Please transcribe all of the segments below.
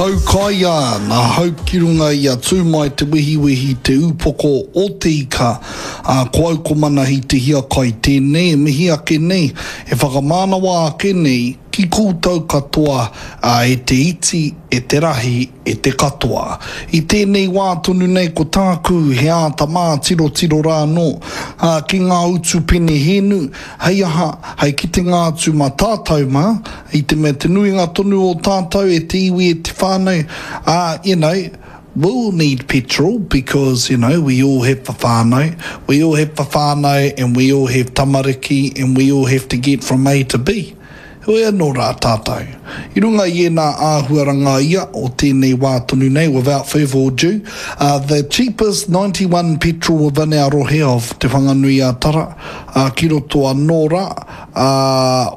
Taukaia nā hau ki runga i a Tūmai Te Wehiwehi te ūpoko o te ika, ā, ko au ko Manahi Te Hiakai tēnei e mihi ake nei, e whakamānawa ake nei ki koutou katoa, ā, e te iti, e te rahi, e te katoa. I tēnei wā tonu nei ko tāku he āta mātirotiro rā anō, ā, ki ngā utu penehēnu, Hei aha, hei kitenga atu mā tātou mā, i te mea te nuinga tonu o tātou e te iwi e te whānau, ā, you know, we'll need petrol because, you know, we all have a whānau, we all have a whānau and we all have tamariki and we all have to get from A to B. Heoi anō rā tātou. I runga i ēnā āhuaranga ia o tēnei wā tonu nei, without further ado, the cheapest 91 petrol within our rohe of Te Whanganui-a-Tara, ki roto anō rā,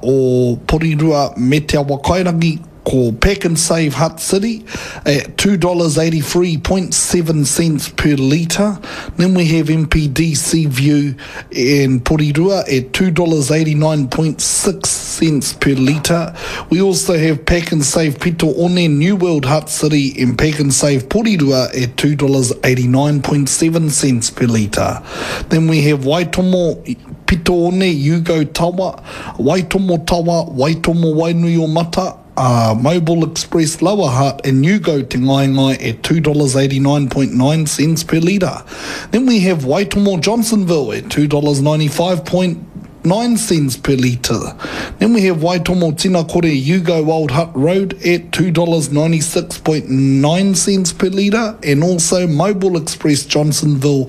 o Porirua me Te Awakairangi, ko Pak'nSave Hutt City at $2.83.7 per litre. Then we have MPD Seaview in Porirua at $2.89.6 per litre. We also have Pak'nSave Pito One, New World Hutt City and Pak'nSave Porirua at $2.89.7 per litre. Then we have Waitomo Pito One, Yugo Tawa, Waitomo Tawa, Waitomo Wainui o Mata, a Mobil Express Lower Hutt and U-Go Te Ngaengae at $2.89.9 per litre. Then we have Waitomo Johnsonville at $2.95.9 cents per litre. Then we have Waitomo Tinakore U-Go Old Hutt Road at $2.96.9 cents per litre and also Mobil Express Johnsonville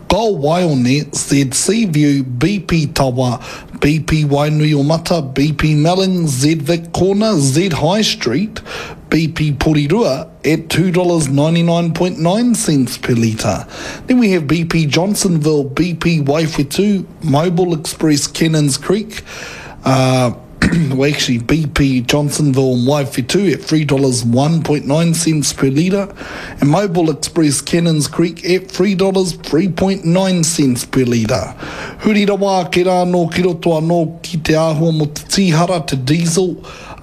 Gull Waione Z Seaview BP Tawa BP Wainuiomata, BP Melling, Z Vic Corner, Z High Street, BP Porirua at $2.99.9 per litre. Then we have BP Johnsonville, BP Waiwhetu, Mobil Express Cannons Creek, uh, well actually BP Johnsonville and Waiwhetu at $3.01.9 per litre, and Mobil Express Cannons Creek at $3.03.9 per litre. Huri rawa ake rā anō ki roto anō ki te āhua mō te tīhara, te diesel,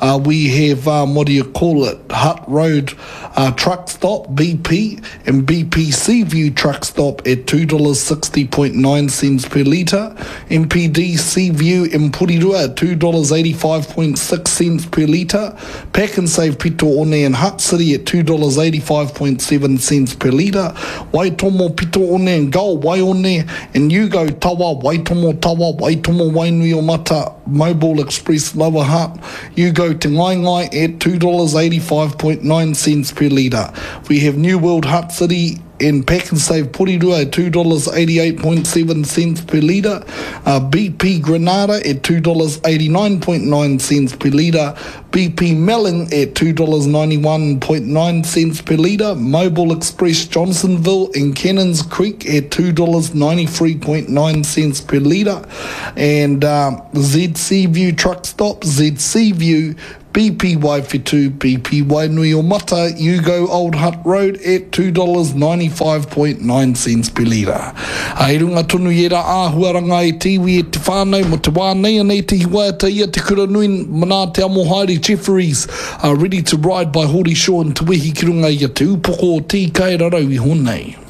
uh, we have, um, what do you call it, Hutt Road uh, Truck Stop, BP, and BP Seaview Truck Stop at $2.60.9 cents per litre, MPD Seaview in Porirua at $2.85.6 cents per litre, Pak'nSave Pito One in Hutt City at $2.85.7 cents per litre, Waitomo Pito One and Gull Waione and U-Go Tawa, Waitomo Tawa, Waitomo Wainuiomata, Mobil Express Lower Hutt, U-Go Te Ngaengae at $2.85.9 cents per litre. We have New World Hutt City and Pak'nSave Porirua at $2.88.7 cents per litre, uh, BP Granada at $2.89.9 cents per litre, BP Melling at $2.91.9 cents per litre, Mobil Express Johnsonville and Cannons Creek at $2.93.9 cents per litre, and uh, ZC View Truck Stop, ZC View, BP Waiwhetu, BP Wainuiomata, U-Go Old Hutt Road at $2.95.9 cents per litre. I runga tonu i ērā āhuaranga e te iwi e te whānau mō te wā nei anei te hiwaiata ia te kura nui nā Te Amohaere Jefferies a Ready to Ride by Hori Shaw and Te Wehi ki runga i a Te Upoko o Te Ika e rarau iho nei.